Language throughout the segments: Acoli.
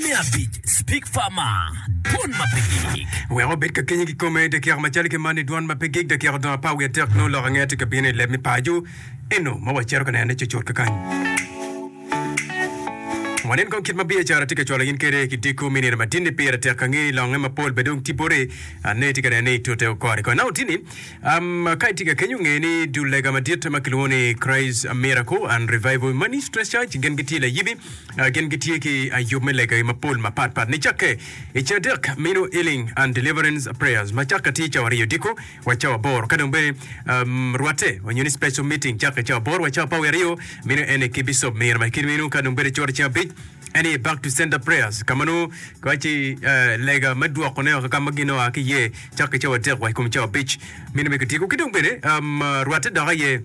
Me abic, Speak Farmer, Dwon ma pe gik. Wek obed ka kenyi kikome i dakika macalo ki man i dwon ma pe gik dakika odong apar wiye adek nongo lok ange tye ka bino i leb me paco eno ma wacito ka nenone cucut kakany. Wanen kong kit ma biacara tye ka cwalo in kwede ki diko me nino madini pire tek ka nge ni longe mapol bene dong tye boti ane itye ka neno ni itute okore kore. Nongo tini um, ka itye ka kenyo nge ni dul lega madit ma kilwongo ni Christ Miracle and Revival Ministries Church gin gitye layibi uh, gin gitye ki yub me legagi mapol mapat pat nicakke i cadek mino healing and deliverance prayers ma cakke tye cawa aryo odiko wa cawa aboro ka dong bene um, rwatte onyo ni special meeting cakke cawa aboro wa cawa apar wiye aryo meno ene ki bicop miro ma kit meno ka dong bedo coro ceng abic en aye back to center prayers ka ma nongo kiwaci eh, lega me dwokone woko ka ma gin oa ki iye cakke cawa adek wa i kom cawa abic meno me kityeko ki dong bene um, rwatte dok aye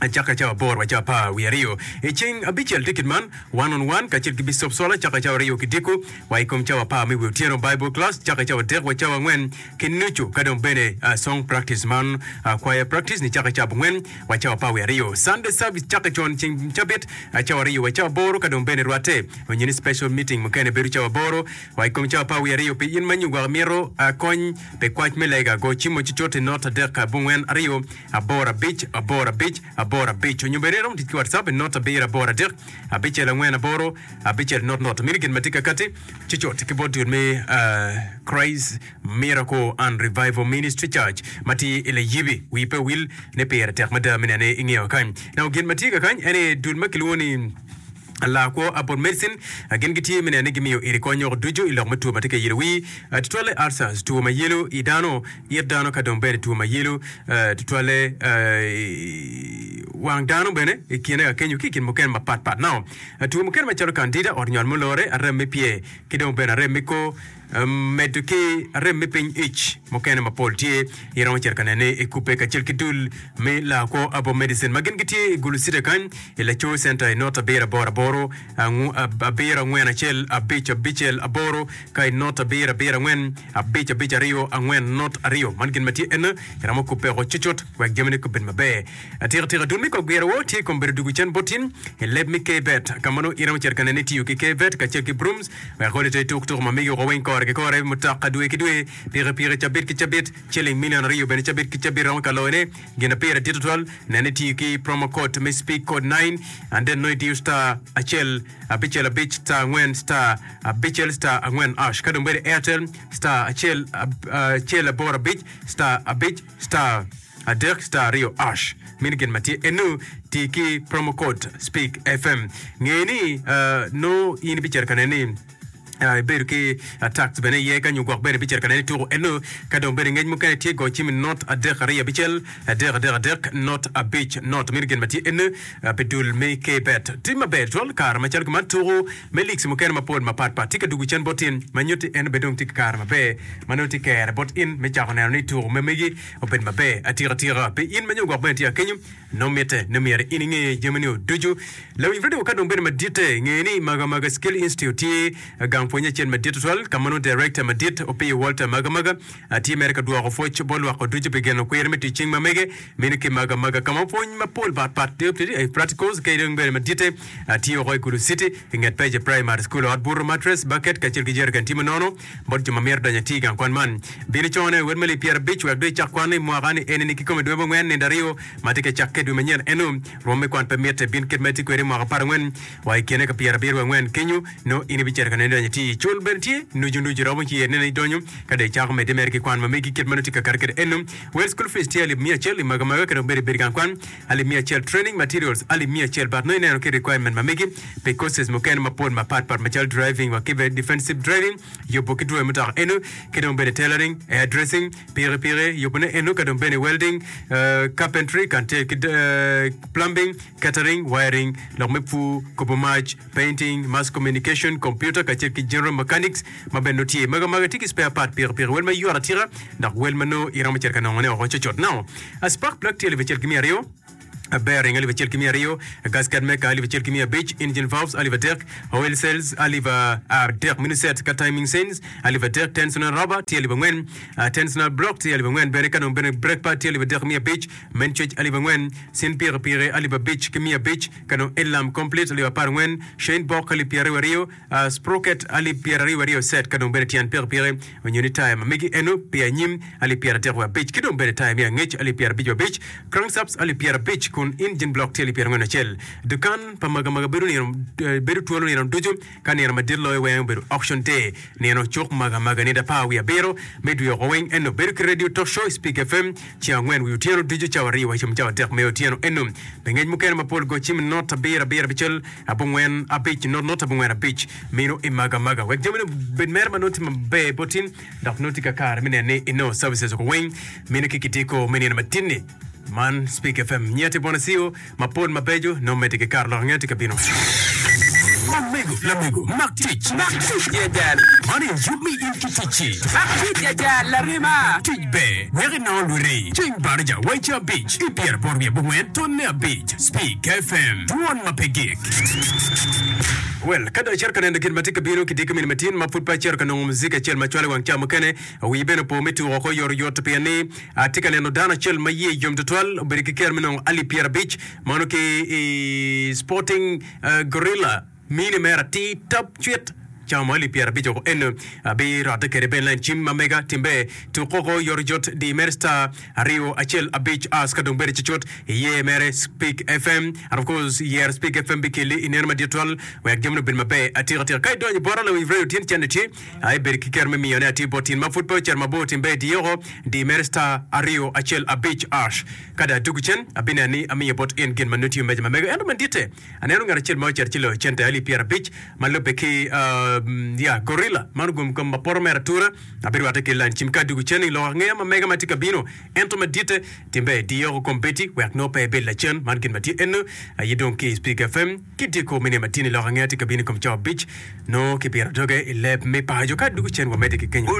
cakke cawa aboro wa cawa apar wiye aryo i ceng abicel tye kit man one on one kacel ki bicop Sola cakke cawa aryo ki diko wa i kom cawa apar me wi otyeno Bible class cakke cawa adek wa cawa angwen ki nucu ka dong bene song practice man choir practice ni cakke cawa abongwen wa cawa apar wiye aryo Sunday service cakke con ceng cabit cawa aryo wa cawa aboro ka dong bene rwatte onyo ni special meeting mukene bedo cawa aboro wa i kom cawa apar wiye aryo pi in ma nyo gwok imito kony pi kwac me lega go cim mo cucut i not adek abongwen aryo aboro abic aboro abic aboro abic onyo bene iromo tic ki WhatsApp i not abiro aboro adek abicel angwen aboro abicel not not. Meno gin ma tye kakati cucut ki bot dul me Christ Miracle and Revival Ministry Church ma tye i Layibi. Wi pe owil ni pire tek mada me nene ingeyo kany. Now gin ma tye kakany en aye dul ma kilwongo ni Lakwo Herbal Medicine gin gitye me neno ni gimiyo iri kony woko ducu i lok me two ma tye ka yelo wii, tutwalle ulcers, two ma yelo i dano, it dano ka dong bene two ma yelo tutwalle wang dano bene i kine ka kenyo ki i kin mukene mapat pat. Now two mukene macalo candida, ot nywal mulore, arem me pyer ki dong bene arem me kor Medo ki arem me piny ic mukene mapol tye, iromo cito ka nene i kubbe kacel ki dul me Lakwo Herbal Medicine ma gin gitye i Gulu City kany i Laco Center i not abiro aboro aboro abiro angwen acel abic abicel aboro ka i not abiro abiro angwen abic abic aryo angwen not aryo. Man gin ma tye ene iromo kubbe woko cucut wek jamine gubed maber. Atika tika dul me kogwiro wo tye i kom bedo dugu cen bot in i leb me Kvet ka ma nongo iromo cito ka nene itiyo ki Kvet kacel ki brooms Wek odi te tuk tuko ma migi woko weng kore ki kore, mutoka dwe ki dwe, pikipiki cabit ki cabit, ciling milion aryo bene cabit ki cabit romo ka loyone. Gin ma pire dit tutwal, nen ni itiyo ki promo code me speak code nine and then nongo itiyo star acel abicel abic star angwen star abicel star angwen ash ka dong bedo Airtel star acel acel aboro abic star abic star adek star aryo ash meno gin ma tye enu ti ki promo code speak fm nge ni uh, no in ibicito ka neno ni uh, ibedo ki uh, tax bene iye ka nyo gwok bene ibicito ka neno ni tuko enu ka dong bene ngec mukene tye go cim not adek aryo abicel adek adek adek not abic not meno gin ma tye enu uh, pi dul me kbet tye maber twal kare macalo kuman tuko me leagues mukene mapol mapat pat tye ka dugo cen bot in ma nyutti en bene dong tye ki kare maber ma nongo tye kere bot in me cako neno ni tuko me megi obed maber atika tika pi in ma nyo gwok bene tye akenyo nongo mitte ni myero in inge jami ni ducu. Lawiny radio ka dong bedo maditte nge ni Maga Maga Skill Institute tye gang pwonye acel madit tutwal ka ma nongo director madit Opiyo Walter Maga Maga tye mere ka dwoko pwoc bot lwak ducu pi geno kwir me tic cing ma mege meno ki Maga Maga ka ma pwony mapol pat pat tye i practicals ki dong bene maditte tye woko i Gulu City i nget Peje Primary School ot buto mattress bucket kacel ki jerrican tye ma nono Bot jo ma mito donyo atir i gang kwan man, bin icone wel me alip pyerabic wek dong icak kwan i mwaka-ni eni-ni kikome dwe abongwen nino aryo ma tye ka cakke dwe manyen eno. Rwom me kwan pe mitte, bin kit ma itye kwede i mwaka aparangwen wa i kine ka pyerabiro wiye angwen kenyo nongo in ibicito ka neno idonyo atir. Cul bene tye nucu nucu romo ci iye neno idonyo ka dong icako medde mere ki kwan ma megi kit ma nongo tye ka kati kwede eno. Wel school fees tye alip miya acel i maga maga ka dong bedo ibedo i gang kwan alip miya acel training materials alip miya acel but nongo ineno ki requirement ma megi pi courses mukene mapol mapat pat macalo driving wa ki bene defensive driving yubo ki dwoyo mutoka eno ki dong bene tailoring, hair dressing, piki piki yubo ne eno ka dong bene welding, carpentry kacel ki plumbing, catering, wiring, lok me pur, kubo mac, painting, mass communication, computer kacel ki general mechanics ma bene nongo tye. Magi magi tye ki spare part piki piki wel ma yot atika dok wel ma nongo iromo cito ka nongone woko cucut. Now, a spark plug tye alip acel ki miya aryo. Bearing alip acel ki miya aryo, gasket maker alip acel ki miya abic, engine valves alip adek, oil seals alip adek meno set ka timing chains alip adek, tensioner rubber tye alip angwen, tensioner block tye alip angwen bene ka dong bene brake pad tye alip adek ki miya abic, main switch alip angwen, cin pikipiki alip abic ki miya abic, ka dong headlamp complete alip apar angwen, chain box alip pyeraryo aryo, Sprocket alip pyeraryo aryo set ka dong bene tyen pikipiki onyo ni taya ma megi eno pi anyim alip pyeratek wiye abic ki dong bene taya me angec alip pyerabic wiye abic, crankshafts alip pyerabic kun engine block tye alip pyerangwen acel. Dukan pa magamaga bedo nino bedo twolo nino ducu ka nino madit loyo weng obedo auction day nino cuk magamaga nino apar wiye abiro me dwe oko weng eno bedo ki radio talk show i Speak FM ceng angwen wiye otyeno ducu cawa aryo wa cawa adek me otyeno eno. Pi ngec mukene mapol go cim not abiro abiro abicel abongwen abic not not abongwen abic mino i maga maga wek jamine obed mere ma nongo tye maber bot in dok nongo tye kakare me neno ni inongo services oko weng mino ki kitiko me nino matin-ni. Man Speak FM nyeti bwana CEO mapol mabeco nongo medde ki karo lok angeya tye ka bino. Omego, lamego, mak tic. Mak tic ya jal. Man aye yub me in ki ticci. Mak tic ya jal, larema. Tic ber wek inongo lwiti. Ceng baraja waica abic ki pyeraboro wiye abongwen tonne abic. Speak FM, dwon ma pe gik. Well, ka dong icito ka neno gin ma tye ka bino ki diko mini matin ma pud pe acito ka nongo muzik acel ma cwalo i wang ca mukene, wii bene opo me tuko oko oyotoyot pien ni atye ka neno dano acel ma iye yom tutwal obedo ki kero me nongo alip pyerabic mano ki i Sporting Gorilla mini mere atir tap cwit camo alip pyerabic oko eno abirotte kede bene lain cim ma mega timbe tuk oko oyotoyot di mere star aryo acel abic as ka dong bedo cucut iye mere Speak FM and of course yer Speak FM bikeli i neno madit twal wek jamine obed maber atika tika ka idonyo bota lawiny radio tin cente tye aye bedo ki kero me miyo ne atir bot tin ma pud pe ocito mabor tim ber diye oko di mere star aryo acel abic ash ka dong adwogo cen abineno ni amiyo bot in gin ma nongo tiyo meja ma mega ento maditte Aneno ngat acel ma ocito ci loyo cente alip pyerabic ma lubbe ki ya gorilla man ogom kom ma poto mere atura. Abirwatte ki lany cim ka adwogo cen i lok angeya ma mega ma tye ka bino. Ento maditte, timbe diyo kom bedi wek nongo pe ibed lacen. Man gin ma tye eno aye dong ki i Speak FM ki dyekor me nino matin i lok angeya tye ka bino i kom cawa abic nongo kipito doge i leb me paco. Ka adwogo cen wamedde ki kenyo.